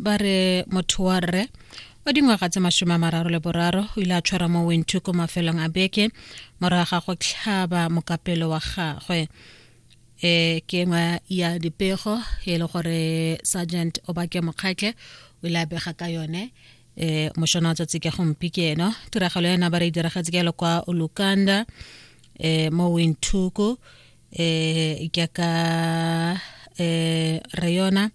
Ba re motho wa rre wa dingwaga tse 33 o ile a tshwarwa mo Windhoek ko mafelong a beke morago ga go tlhaba mokapelo wa gagwe. E ke nngwe ya dipego e le gore Sergeant Obake Mokgatle o ile a bega ka yone e mošono wa tsatsi ke gompieno. Tiragalo ena ba re e diragetse ke kwa Olukanda e mo Windhoek, e jaaka e re yona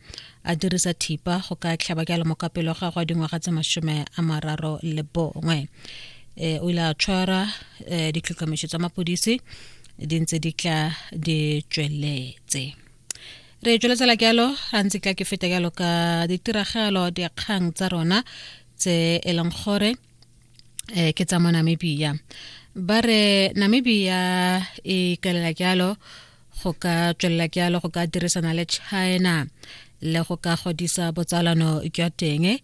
a dirisa thipa go ka tlhaba ke mo kapelo ga gwa dingwaga tse 31. E o ile a tshwara, e ditlhotlhomiso tsa mapodisi di ntse di tla di tsweletse. Re tsweletsela jalo ga ntse tla ke feta jalo ka ditiragalo dikgang tsa rona tse e leng gore ke tsa mo Namibia. Ba re Namibia e ikaelela jalo go ka tswelela jalo go ka dirisana le China le go ka godisa botsalano jwa teng,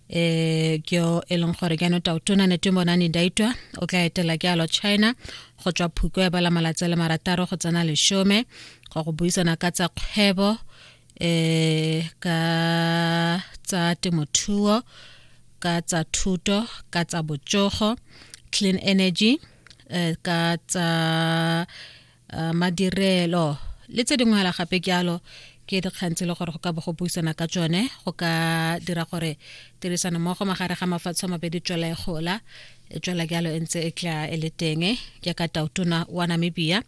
ke e leng gore jaanong Tautona Netumbo Nandi-Ndaitwah o tla etela jalo China go tswa Phukwe ya bala malatsi a le 6 go tsena 10 go buisana ka tsa kgwebo, ka tsa temothuo, ka tsa thuto, ka tsa botsogo, clean energy, ka tsa madirelo le tse dingwe hela gape jalo. Ke dikgang tse e le gore go ka bo go buisana ka tsone go ka dira gore tirisano mmogo magare ga mafatshe a mabedi tswela e gola, e tswela jalo e ntse e tla e le teng, jaaka tautona wa Namibia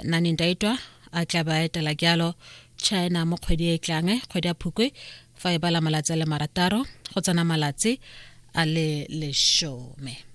Nandi-Ndaitwah a tla ba etela jalo China mo kgwedi e tlang, kgwedi ya Phukwe fa e bala malatsi a le 6 go tsena malatsi a le 10.